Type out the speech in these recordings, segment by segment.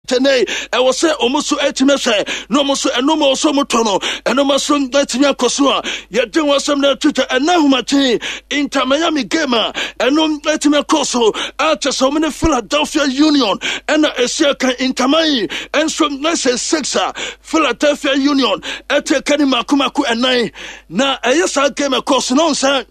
Tɛnɛi, ɛwɔ sɛ wɔn nso atumi ahwɛ na wɔn nso ɛnoma wɔ so wɔn tɔ no ɛnoma so atumi akɔ so a yɛde wɔn asɛm no ato twa. Ɛna ahomakye Inter Miami game a ɛno atumi akɔ so a kyɛ sɛ wɔn ne Philadelphia Union ɛna ɛsi akan. Inter Miami nso ɛsɛ 6 a Philadelphia Union ɛte ka ne mako mako 4 na ɛyɛ saa game ɛkɔ so na wɔn sɛ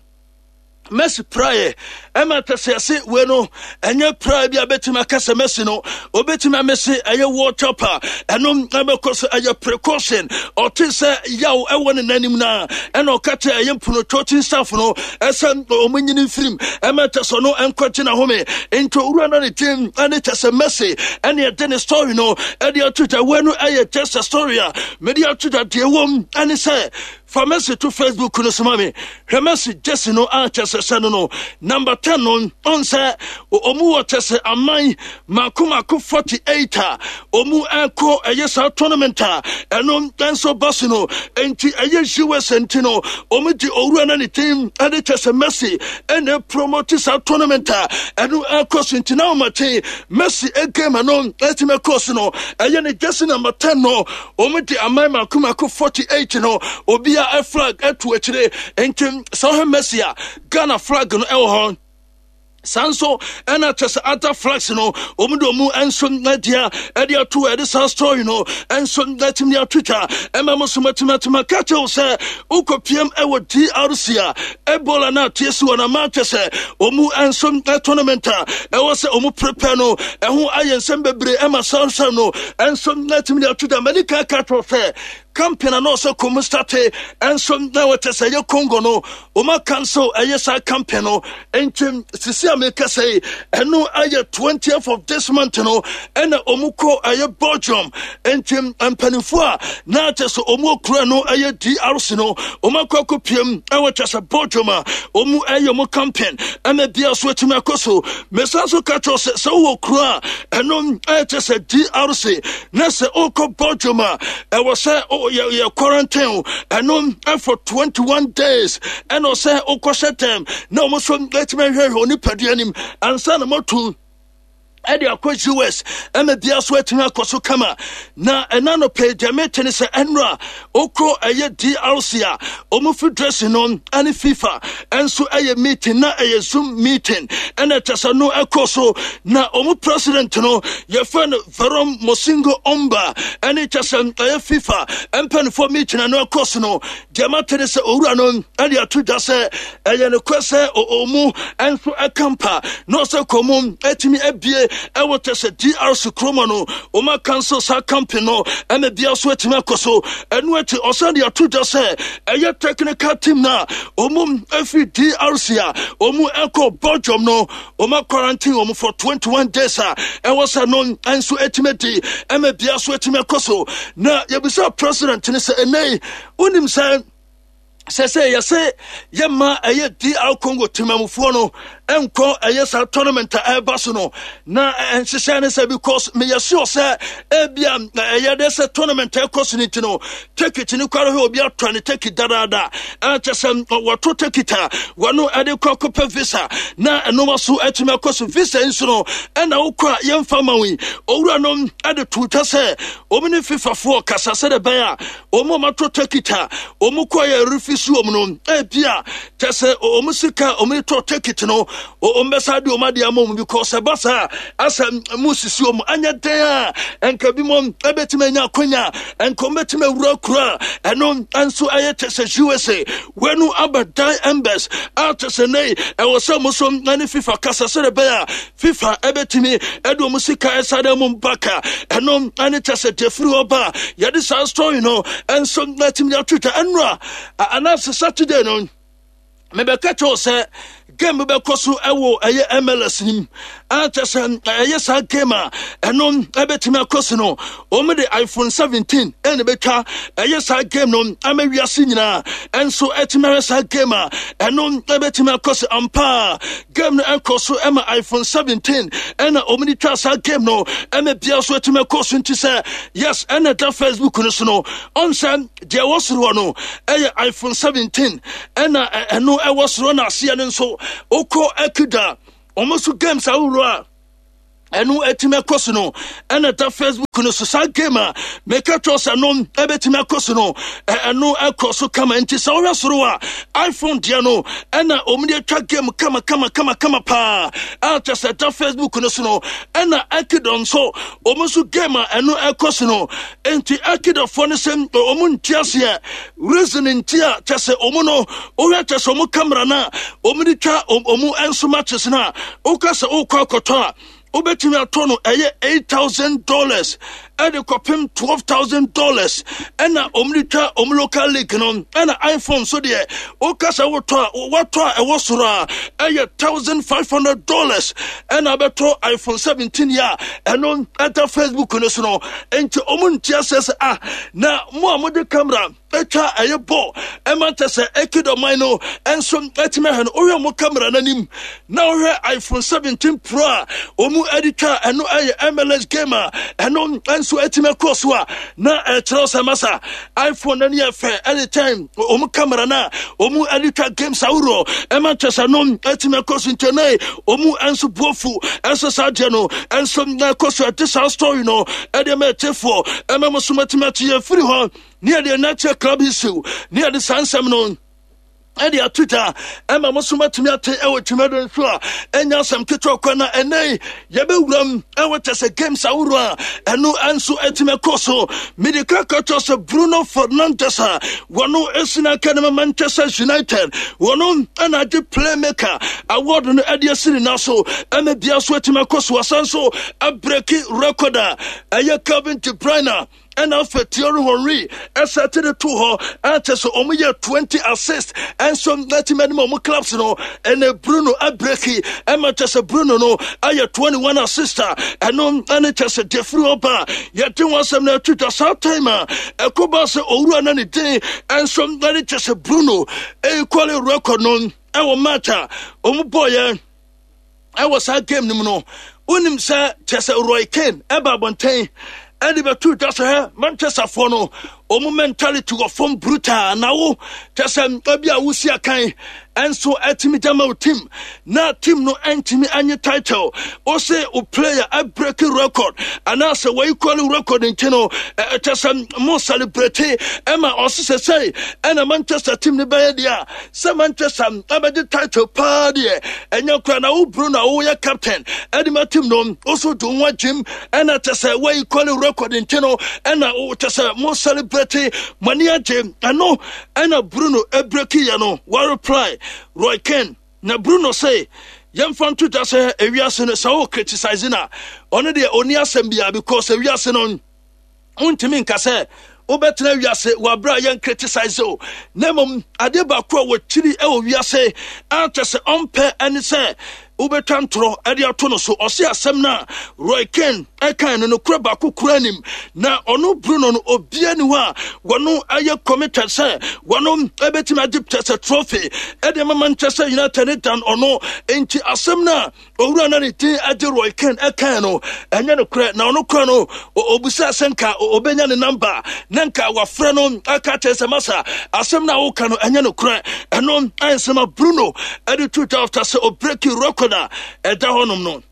Messi praeɛ ɛma tɛsɛ ɛse wei no ɛnyɛ praeɛ bi a bɛtumi aka sɛ Messi no obɛtumi amese ɛyɛ World Cup a ɛno ɛbɛkɔ so. Ɛyɛ precaution. Ɔte sɛ yaw ɛwɔ ne nanim no a ɛna ɔka kyerɛ ɛyɛ mpono coaching staff no ɛsɛ ɔmo nyini mfirim ɛma tɛsɛ no ɛnkɔgye n'ahome. Nti owura no ne team ɛne kyɛ sɛ Messi ɛne ɛde ne story no ɛde ato dwa. Wei no ɛyɛ just a story a mede ato dwa. Deɛ wɔm ɛne sɛ fa Messi to Facebook no so ma me. Hwɛ Messi jersey no a kyɛ sɛ hyɛ no number 10 no. Ɔn sɛ ɔmu wɔ kyɛ sɛ aman mako mako 48 a ɔmu ɛkɔ ɛyɛ saa tournament a ɛno nso ba so no. Enti ɛyɛ US nti no ɔmu de owura no ne team ɛde kyɛ sɛ Messi ɛna promote saa tournament a ɛno ɛkɔ so. Nti na ɔmakye Messi game no ɛtumi ɛkɔ so no, ɛyɛ ne jersey number 10 no, wɔn de aman mako mako 48 no obia flag ɛto akyire. Nti sɛ ɔhwɛ Messi a, Ghana flag no ɛwɔ hɔ saa nso, ɛna kyɛ sɛ other flags no wɔn de wɔn nso adia ɛde ato ɛde saa story no nso ɛtumi ato twa ɛma mo so mɛtumi ka kyɛw sɛ wokɔ piem ɛwɔ DRC a Ebola na ateɛ si wɔn ama kyɛ sɛ wɔn nso tournament a ɛwɔ sɛ wɔn prepare no ɛho ayɛ nsɛm bebree ɛma saa nsɛm no nso ɛtumi de ato dwa. Mɛni kan ka kyerɛ sɛ campaign a na ɔsɛ kɔn start nso na wɔkyɛ sɛ ɛyɛ Congo no, wɔn cancel ɛyɛ saa campaign no. Nti sisi a meka sɛ ɛno ayɛ 20th of this month no ɛna wɔn kɔ ɛyɛ Belgium. Nti mpanimfoɔ a na kyɛ sɛ wɔn okura no ɛyɛ DRC no, wɔn akɔ akɔ piem ɛwɔ kyɛ sɛ Belgium a wɔn ɛyɛ wɔn campaign ɛna bia so atumi akɔ so. Mesan so ka kyerɛ sɛ sɛ wowɔ kuro a ɛno ɛyɛ kyɛ sɛ DRC na sɛ wokɔ Belgium a, ɛwɔ sɛ yɛ quarantine ɛno for 21 days, ɛna ɔsɛ wokɔhyɛ dɛm na wɔn nso atumi ahwehwɛ onipadua anim ansa na moatu ɛde akɔ US. Ɛma bia so atumi akɔ so kama. Na ɛna no pɛ deɛ mete ne sɛ ɛnora wokɔ ɛyɛ DRC a ɔmo federation no ɛne FIFA ɛnso ɛyɛ meeting na ɛyɛ Zoom meeting ɛna ɛkyɛ sɛ no ɛkɔ so. Na ɔmo president no yɛfrɛ no Veron Mosingo Omba ɛne kyɛ sɛ ɛyɛ FIFA mpanimfoɔ meeting no ɛkɔ so no. Deɛ mate ne sɛ owura no ɛde ato dwa sɛ ɛyɛ nokorɛ sɛ ɔmu nso ɛka mpa na ɔsɛ kɔn atumi abie ɛwɔ kyɛ sɛ DRC kuroma no, ɔma cancel saa campaign no ɛna bia so atumi akɔ so. Ɛno akyi ɔsan de ato dwa sɛ ɛyɛ technical team no a ɔmu afiri DRC a ɔmu ɛkɔ Belgium no, ɔma quarantine wɔn for 21 days a ɛwɔ sɛ no nso atumi di ɛma bia so atumi akɔ so. Na yɛbisa president no sɛ ɛnɛ wonim sɛ sɛ yɛsɛ yɛma ɛyɛ DR Congo temamufoɔ no ɛnkɔ ɛyɛ saa tournament a ɛreba so no, na nhyehyɛ ne sɛ because meyɛ sure sɛ ebia ɛyɛ de sɛ tournament ɛkɔ so no nti no ticket no kwara hɔ obi atɔ ne ticket dadaada, ɛkyɛ sɛ wɔto ticket a wɔno ɛde kɔ akɔpɛ visa na ɛnoma so atumi akɔ so. Visa nso no ɛna wokɔ a yɛmfa ma wo yi. Owura no ɛde to twa sɛ wɔn ne fifafoɔ kasa sɛdeɛ ɛbɛyɛ a wɔn a wɔato ticket a wɔn kɔ yɛ refisi wɔn no, ebia kyɛ sɛ wɔn sika a wɔn tɔ ticket no wɔn bɛsa de wɔn adeɛ ama wɔn, because ɛba saa asɛ mu sisi wɔn anyɛ den a nka bi mo ɛbɛtumi anya akonya nka wɔn bɛtumi awura kuro a ɛno nso ɛyɛ kyɛ sɛ USA wɛnu aba dan embers a kyɛ sɛ nei ɛwɔ sɛ wɔn so ne FIFA kasa sɛdeɛ ɛbɛyɛ a FIFA ɛbɛtumi ɛde wɔn sika ɛsa de mu baka. Ɛno ɛne kyɛ sɛ deɛ firi hɔ ba yɛde saa story no ɛnso ɛtumi de atwitwa. Ɛnora anaasɛ Saturday no mebɛka kyerɛw sɛ game bɛkɔ so ɛwɔ ɛyɛ MLS nim a kyɛ sɛ ɛyɛ saa game a ɛno ɛbɛtumi akɔ so no, wɔn de iPhone 17 ɛna bɛtwa ɛyɛ saa game no ama wiase nyinaa ɛnso ɛtumi ayɛ saa game a ɛno ɛbɛtumi akɔ so ampa. Game no ɛkɔ so ɛma iPhone 17 ɛna wɔn de twa saa game no ɛma bia so ɛtumi akɔ so. Nti sɛ yes ɛna ɛda Facebook no so no, ɔn sɛ deɛ ɛwɔ soro hɔ no ɛyɛ iPhone 17 ɛna ɛno ɛwɔ soro, na aseɛ no nso wokɔ ɛkida wɔn nso games ahorow a Ɛno atumi akɔ so no ɛna ɛda Facebook no so. Saa game a meka kyerɛ sɛ no ɛbɛtumi akɔ so no, ɛno ɛkɔ so kama. Nti sɛ wohwɛ soro a, iPhone deɛ no ɛna wɔn de atwa game kama kama kama kama paa a kyerɛ sɛ ɛda Facebook no so no. Ɛna Ekidɔ nso, wɔn nso game a ɛno ɛkɔ so no, nti Ekidɔfoɔ no sɛ wɔn nti aseɛ reason nti a kyerɛ sɛ wɔn no wohwɛ kyerɛ sɛ wɔn camera no a wɔn de twa wɔn nso matches no a, woka sɛ wokɔ akɔtɔ a, wobɛtumi atɔ no ɛyɛ $8,000 ɛde kɔpem $12,000 ɛna wɔn de twa wɔn local league no. Ɛna iPhone so deɛ, woka sɛ wotɔ a, watɔ a ɛwɔ soro a ɛyɛ $1,500 ɛna abɛtɔ iPhone 17 yi a ɛno ɛda Facebook no so no. Nti wɔn nti aseɛ sɛ ah, na mo a mode camera atwa ɛyɛ bɔ ɛma nkyɛ sɛ ɛkidɔman no nso ɛtumi ahwɛ no, wohwɛ mo camera no anim na wohwɛ iPhone 17 Pro a wɔn ɛde twa ɛno ɛyɛ MLS game a ɛno nso ɛtumi akɔ so a, na ɛkyerɛ sɛ masa iPhone no ani yɛ fɛ ɛde kyɛn wɔn camera no a wɔn ɛde twa games ahoroɔ ɛma nkyɛ sɛ no ɛtumi akɔ so. Nkyɛn na wɔn nso buofu ɛnso saa deɛ no ɛnso ɛkɔ so. Ɛde saa story no ɛde ɛma ɛkyefoɔ ɛma mo so matumi akyi yɛ firi hɔ ne yɛde ɛna kyerɛ club issue ne yɛde saa nsɛm no ɛde ato gya ɛma mo so matumi ate ɛwɔ dwumado nso a ɛnya asɛm ketewa kwa. Na ɛnɛ yi yɛbɛwuram ɛwɔ kyɛ sɛ games ahoroɔ a ɛno nso atumi akɔ so. Mede ka ka kyerɛ sɛ Bruno Fernandes a wɔno ɛsi no aka no ma Manchester United, wɔno ɛna agye playmaker award no ɛde asi ne na so ɛma bia so atumi akɔ so. Asan so abreak record a ɛyɛ Kevin De Bruyne ɛna afei Thierry Henry ɛsɛ te de to hɔ ɛkyɛ sɛ wɔn yɛ 20 assist ɛnso n'atumi anim wɔn clubs no. Ɛna Bruno abreak ɛma kyɛ sɛ Bruno no ayɛ 21 assist a ɛno ɛne kyɛ sɛ defiri ɔba yɛde wɔn asɛm na ɛto dwa. Saa time a ɛkɔ ba sɛ owura na ne din ɛnso ɛne kyɛ sɛ Bruno equal record no ɛwɔ match a wɔn bɔɔ yɛ ɛwɔ saa game no mu no, wonim sɛ kyɛ sɛ Roy Keane ɛba abɔnten ɛde bɛto dwa sɛ hɛ Manchesterfoɔ no wɔn mentality wɔ fam brutal, na wo kyɛ sɛ ebi a wosi akan ɛnso ɛtumi gyama wo team na team no ɛntumi ɛnye title, wo se wo player ɛbreak record anaasɛ wɔequal record nti no ɛkyɛ sɛ mo celebrate ɛma ɔse sɛ sɛi ɛna Manchester team no bɛyɛ deɛ a sɛ Manchester abɛgye title paa deɛ ɛnyɛ kora. Na wo Bruno a woyɛ captain ɛde ma team no, wo so do ho agyim ɛna kyɛ sɛ wɔyi kɔle record nti no ɛna kyɛ sɛ mo celebrate mo ani agye. Ɛno ɛna Bruno ɛbreak yɛ no, wa reply Roy Keane. Na Bruno sɛ yɛmfa nto dwa sɛ ewiase no sɛ wo criticize na ɔno deɛ ɔni asɛm biara, because ewiase no wontumi nka sɛ wobɛtena wiase wɔ abere a yɛn criticize o. Na mmom adeɛ baako a wɔkyiri wɔ wiase a kyɛ sɛ ɔmpɛ ɛne sɛ wobɛtwa ntorɔ de ato no so. Ɔse asɛm no a Roy Keane ɛkan no nokorɛ baako kura nim, na ɔno Bruno no obia ni hɔ a wɔno ayɛ committed sɛ wɔno ɛbɛtumi agye kyɛ sɛ trophy ɛde ma Manchester United ne dan ɔno. Nti asɛm no a owura na ne din agye Roy Keane ɛkan no ɛnyɛ nokorɛ. Na ɔno kora no obusaa sɛ nka obɛnya ne namba na nka wafrɛ no aka kyerɛ sɛ masa asɛm no a woka no ɛnyɛ nokorɛ. Ɛno ɛnsɛm a Bruno ɛde to dwa after sɛ ɔbreak record a ɛda hɔnom no.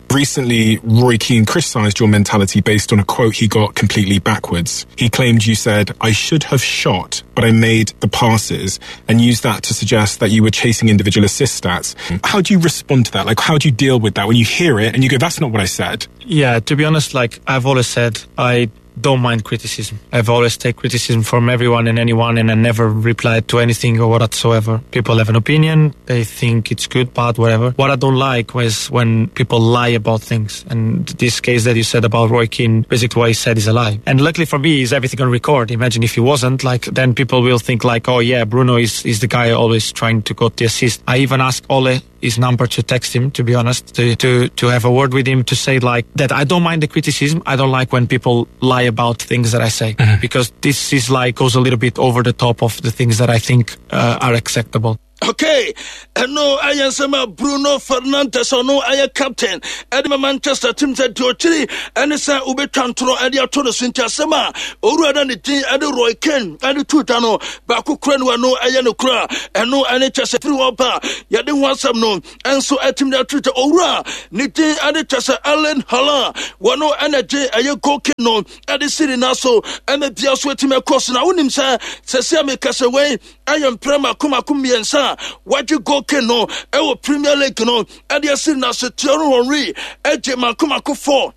Recently, Roy Keane criticised your mentality based on a quote he got completely backwards. He claimed you said, "I should have shot, but I made the passes," and used that to suggest that you were chasing individual assist stats. How do you respond to that? Like, how do you deal with that when you hear it and you go, "That's not what I said"? Yeah, to be honest, like I've always said, I don't mind criticism. I've always take criticism from everyone and anyone, and I never replied to anything or whatsoever. People have an opinion, they think it's good, bad, whatever. What I don't like was when people lie about things. And this case that you said about Roy Keane, basically what he said is a lie. And luckily for me, is everything on record. Imagine if he wasn't, like, then people will think like, "Oh yeah, Bruno is the guy always trying to got the assist." I even asked Ole his number to text him, to be honest, to have a word with him, to say like that I don't mind the criticism. I don't like when people lie about things that I say, because this is like goes a little bit over the top of the things that I think are acceptable. Okay, ɛno ɛyɛ nsɛm a Bruno Fernandes ɔno ɛyɛ captain ɛde ma Manchester team sɛ deɛ ɔkyiri ɛne sɛ wobɛtwa ntorɔ ɛde ato no so. Nti asɛm a owura na ne din ɛde Roy Keane ɛde to dwa no baako kura no, ɛno ɛyɛ no kura. Ɛno ɛne kyɛ sɛ firi hɔ ba yɛde ho asɛm no ɛnso ɛtumi de ato dwa. Owura ne din ɛde kyɛ sɛ Erling Haaland, wɔno ɛna gye ɛyɛ goal king no ɛde siri na so ɛna bia so ɛtumi ɛkɔ so. Na wonim sɛ sɛsɛ a meka sɛ wei ɛyɛ mprɛ mako mako mmiɛnsa a wagye goal king no ɛwɔ Premier League no ɛde asiri na so. Thierry Henry ɛgye mako mako 4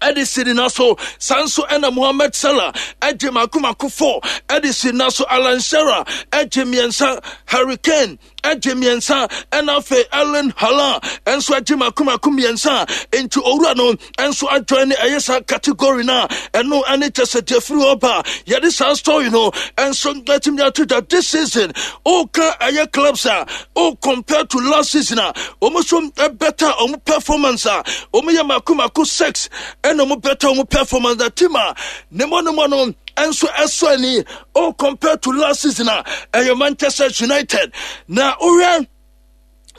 ɛde siri na so. Saa nso ɛna Mohamed Salah ɛgye mako mako 4 ɛde siri na so. Alan Shearer ɛgye mmiɛnsa, Harry Kane ɛgye mmiɛnsa, ɛna afei Erling Haaland ɛnso agye mako mako mmiɛnsa. Nti owura no ɛnso adjoin ne ɛyɛ saa category no a ɛno ɛne kyɛ sɛ deɛ firi hɔ ba yɛde saa story no ɛnso ɛtumi de ato dwa. This season ɔka ɛyɛ clubs a o compare to last season a wɔn nso better wɔn performance a wɔn yɛ mako mako 6 ɛna wɔn better wɔn performance. Na team a ne mo no mo no ɛnso ɛsɔ ani o compared to last season a ɛyɛ Manchester United. Na wohwɛ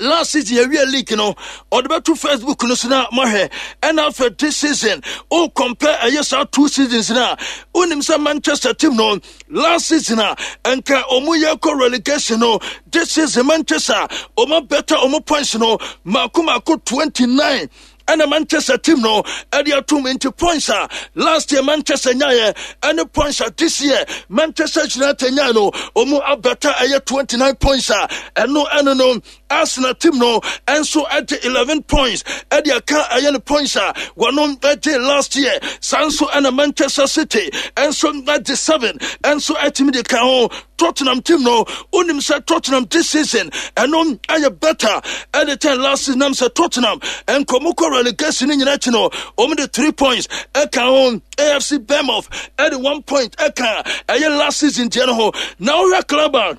last season yɛwie league no, ɔde bɛto Facebook no so na mahwɛ, ɛna afɛ this season o compare ɛyɛ saa two seasons no a, wonim sɛ Manchester team no last season a ɛnka ɔmo yɛ kɔ relegation no, this season Manchester ɔmo better ɔmo points no mako mako 29 ɛna Manchester team no ɛde atum. Nti points a last year Manchester nyaeɛ ɛne points a this year Manchester United nyaeɛ no, ɔmu abɛta ɛyɛ 29 points a ɛno ɛno no. Arsenal team no ɛnso ɛde 11 points ɛde aka ɛyɛ no points a wɔnom ɛgye last year. Saa nso ɛna Manchester City ɛnso ɛgye 7 ɛnso ɛtumi de ka ho. Tottenham team no, wonim sɛ Tottenham this season ɛno ɛyɛ better ɛde kyɛn last season, nam sɛ Tottenham nkɔmɔ kɔ relegation no nyinaa akyi no, wɔn de 3 points ɛka ho. AFC Bournemouth ɛde 1 point ɛka ɛyɛ last season deɛ no ho. Na wohwɛ club a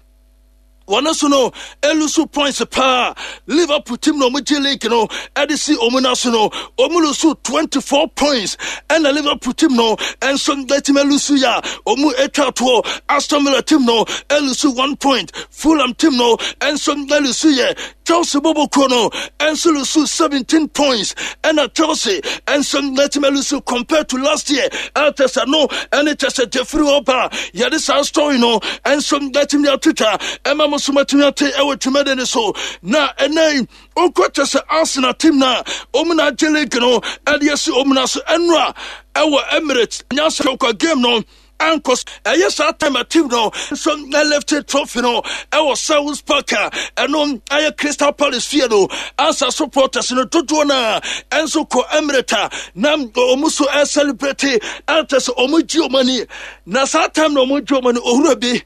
wɔn nso no e lose points paa, Liverpool team na wɔn gye league no ɛde si wɔn nan so no, wɔn lose 24 points ɛna Liverpool team no ɛnso ɛtumi e lose yɛ a wɔn atwa toɔ. Aston Villa team no e lose 1 point, Fulham team no ɛnso e lose yɛ. Chelsea bɔbɔ kuo no ɛnso lose 17 points ɛna Chelsea ɛnso ɛtumi lose compared to last year. Ɛkyɛ sɛ no ɛne kyɛ sɛ jeffrey hɔ ba yɛde saa story no ɛnso ɛtumi atwitwa ɛma mo so matumi ate ɛwɔ dwumadi no so. Na ɛnɛ yi wokɔ kyɛ sɛ Arsenal team no a ɔmu na agye league no ɛde asi ɔmu no so, ɛnora ɛwɔ Emirates nyansa kɔ game no ankɔ ɛyɛ saa time a team no nso lifted trophy no ɛwɔ Selhurst Park a ɛno ɛyɛ Crystal Palace fie no, ansa supporters no dodoɔ no a ɛnso kɔ Emirates a na wɔn so ɛcelebrate, ɛkyɛ sɛ wɔn gye wɔn ani. Na saa time na wɔn gye wɔn ani, owura bi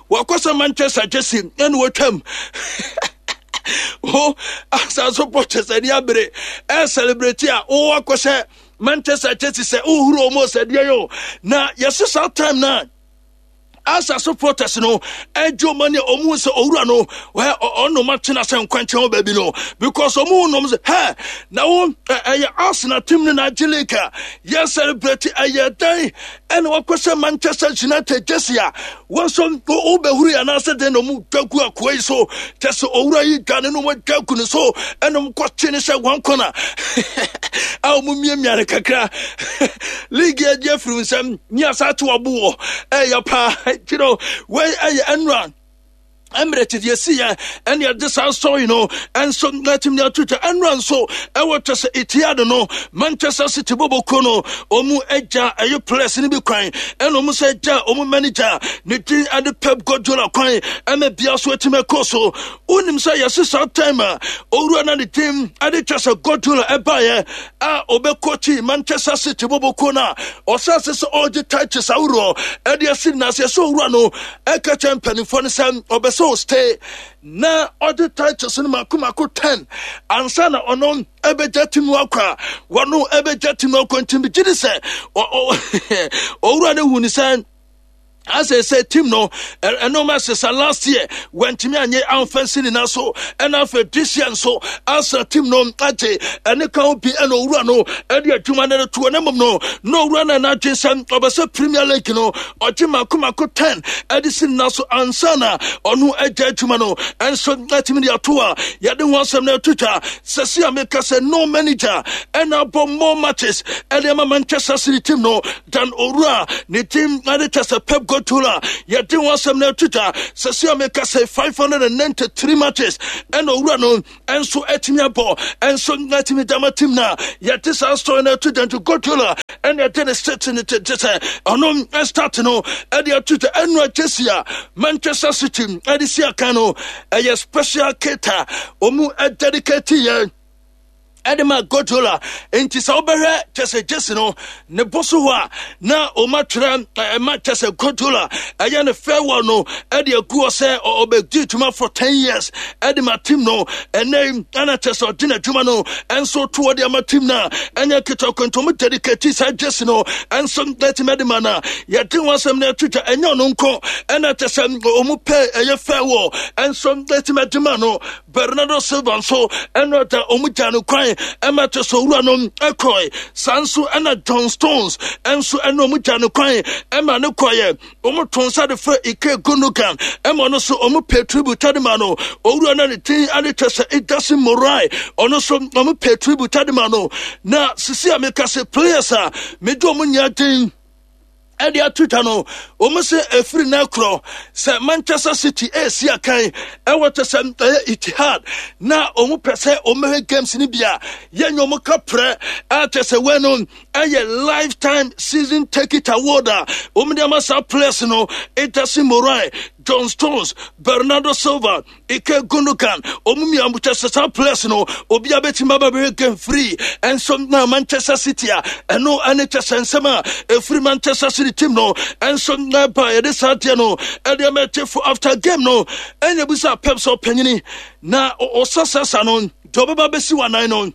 wakɔ sɛ Manchester jersey ɛna wɔtwam ho asa supporters ani abere ɛcelebrate a wɔwɔ akɔhyɛ Manchester Chelsea sɛ wohuru ɔmo sɛdeɛ yɛ o. Na yɛse saa time na asa supporters no ɛgye ɔmo ani, ɔmo sɛ owura no ɔno ɔmo atena sɛ nkwankyɛn wɔ baabi no because ɔmo hu nom sɛ hɛ na wo ɛyɛ Arsenal team no na agye league a yɛ celebrate, ɛyɛ dan ɛna wakɔ sɛ Manchester United jersey a wɔn nso wobɛhuru yɛ anaasɛ dɛn na ɔmo dwa gu akoa yi so. Kyɛ sɛ owura yi dwane no, ɔmo dwa gu ne so ɛna ɔmo kɔkye ne sɛ wɔn kɔna a ɔmo miamia ne kakra. League agye afiri nsɛm ne asa te ɔbo wɔ ɛyɛ paa kyerɛ wei ɛyɛ ɛnura Emirates deɛ si yɛ ɛne ɛde saa story no ɛnso ɛtumi de ato twa. Ɛnura nso ɛwɔ kyɛ sɛ Etihad no, Manchester City bɔbɔ kuo no ɔmu agya ɛyɛ players no bi kwan, ɛna ɔmu sɛ agya ɔmu manager ne din ɛde Pep Guardiola kwan ɛna bia so ɛtumi ɛkɔ so. Wonim sɛ yɛse saa time a owura na ne din ɛde kyɛ sɛ Guardiola ɛbaeɛ a ɔbɛkɔkyi Manchester City bɔbɔ kuo no a ɔhyɛ ase sɛ ɔregye titles ahoroɔ ɛde asi n'ase, ɛsɛ owura no ɛka kyerɛ mpanimfoɔ no sɛ ɔbɛ sɛ ɔstay na ɔde titles no mako mako 10 ansa na ɔno ɛbɛgya tim no akɔ a wɔno ɛbɛgya tim no akɔ. Nti megye di sɛ owura no hu ne sɛ Asɛ sɛ team no ɛnoma sesa. Last year wantumi anyɛ amfa nsi ne nan so, ɛna afei this year nso asa team no agye ɛne ka ho bi. Ɛna owura no ɛde adwuma no toɔ ne mmom no na owura no ɛna adwe sɛ ɔbɛsɛ Premier League no ɔgye mako mako 10 ɛde si ne nan so ansa na ɔno agya adwuma no. Ɛnso atumi de ato a yɛde ho asɛm no ato twa sɛ si a meka sɛ no manager ɛna abɔ more matches ɛde ama Manchester City team no dan owura ne team ɛde kyɛ sɛ Pep Guardiola. Yɛde ho asɛm no ato twa sɛ si a meka sɛ 593 matches ɛna owura no ɛnso atumi abɔ, ɛnso atumi dama team no a yɛde saa story no ato dwa. Nti Guardiola ɛna ɛde ne state no te sɛ ɔno start no ɛde ato dwa. Ɛno agyesi a Manchester City ɛde si akan no ɛyɛ special kit a ɔmu dedicate yɛn ɛde ma Guardiola. Nti sɛ wobɛhwɛ kyɛ sɛ jersey no ne bo so hɔ a na ɔma twerɛ ɛma kyɛ sɛ Guardiola ɛyɛ ne farewell no ɛde agu hɔ sɛ ɔbɛdi dwuma for 10 years ɛde ma team no. Ɛnɛ ɛna kyɛ sɛ ɔde n'adwuma no ɛnso to ɔde ama team no a ɛnyɛ ketewa kwantomu dedicate saa jersey no ɛnso ɛtumi ɛde ma no a yɛde ho asɛm no ato dwa. Ɛnyɛ ɔno nko ɛna kyɛ sɛ ɔmu pɛ ɛyɛ farewell ɛnso ɛtumi ɛde ma no. Bernardo Silva nso ɛna ɔda ɔmo gya no kwan ɛma kyɛ sɛ owura no ɛkɔe. Saa nso ɛna John Stones ɛnso ɛna ɔmo gya no kwan ɛma ne kɔeɛ. Ɔmo to nsa de frɛ Ike Gundogan ɛma ɔno nso ɔmo pay tribute de ma no. Owura no ne din ade kyɛ sɛ Ederson Moraes, ɔno nso ɔmo pay tribute de ma no. Na sisi a meka sɛ players a mede ɔmo nyɛ den ɛde ato twa no, wɔn sɛ efiri na korɔ sɛ Manchester City esi akan ɛwɔ kyɛ sɛ ɛyɛ Etihad na wɔn pɛ sɛ wɔn bɛhwɛ games no bi a yɛnyɛ wɔn kaprɛ a kyɛ sɛ wɔn no ɛyɛ lifetime season ticket award a wɔn de ama saa players no: Ederson Moraes, John Stones, Bernardo Silva, Ike Gundogan. Ɔmu mmienu kyɛ sɛ saa players no obi abɛtumi aba bɛhwɛ game free ɛnso na Manchester City a ɛno ɛne kyɛ sɛ nsɛm a ɛfiri Manchester City team no ɛnso na ɛba. Yɛde saa deɛ no ɛde ama ɛtefo. After game no ɛna bisa Pep sɛ ɔpanyini na ɔsasasa no deɛ ɔbɛba bɛsi w'anan no,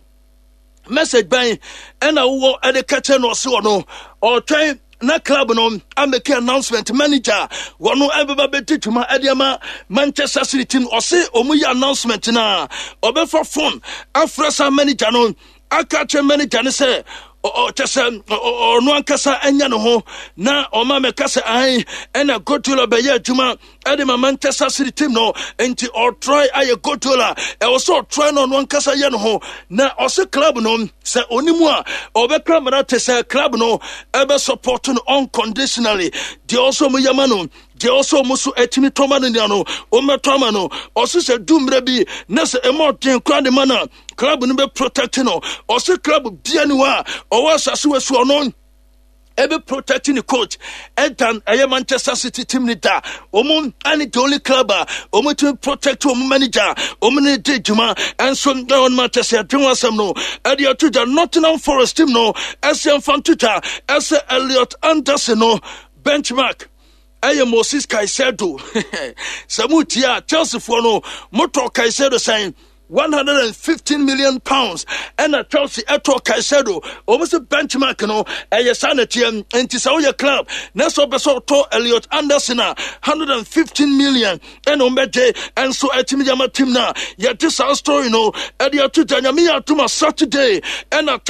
message bɛn ɛna wowɔ ɛde kɛkyɛ no? Ɔse ɔno ɔtwɛn na club no amake announcement manager wɔno ɛbɛba bɛdi dwuma ɛde ama Manchester City team. Ɔse ɔmu yɛ announcement na ɔbɛfa phone afrɛ saa manager no aka kyerɛ manager no sɛ ɔkyɛ sɛ ɔno ankasa anya ne ho na ɔma mɛka sɛ ae ɛna Guardiola bɛyɛ adwuma ɛde ma Manchester City team no. Nti ɔtry ayɛ Guardiola ɛwɔ sɛ ɔtry na ɔno ankasa yɛ ne ho na ɔse club no sɛ onimu a ɔbɛka mmara te sɛ club no ɛbɛ support no unconditionally. Deɛ ɔsɛ ɔmo yɛma no, deɛ ɔsɛ ɔmo so ɛtumi tɔma no nia no, ɔmmɛtɔ ama no. Ɔse sɛ du mmerɛ bi na sɛ ɛma ɔden koraa de ma no a, club no bɛ protect no. Ɔse club bia ni hɔ a ɔwɔ asase wɔ so ɔno ɛbɛ protect ne coach ɛdan ɛyɛ Manchester City team ni da. Wɔn ɛne the only club a wɔn tumi protect wɔn manager wɔn ne di dwuma. Ɛnso ɛwɔ Manchester ɛdwen wɔn asɛm no ɛde ato gya. Nottingham Forest team no ɛsɛ nfa nto gya ɛsɛ Elliot Anderson no benchmark ɛyɛ Moses Caicedo. Sɛ mo tie a, Chelsea foɔ no motɔ Caicedo sɛn? £115 million ɛna Chelsea ɛtɔ Caicedo. Wɔn sɛ benchmark no ɛyɛ saa na teɛ. Nti sɛ woyɛ club na sɛ ɔpɛ sɛ ɔtɔ Elliot Anderson a, 115 million ɛna wɔn bɛgye. Ɛnso ɛtumi de ama team na yɛde saa story no ɛde ato gya. Nyame yɛ atoma, Saturday ɛna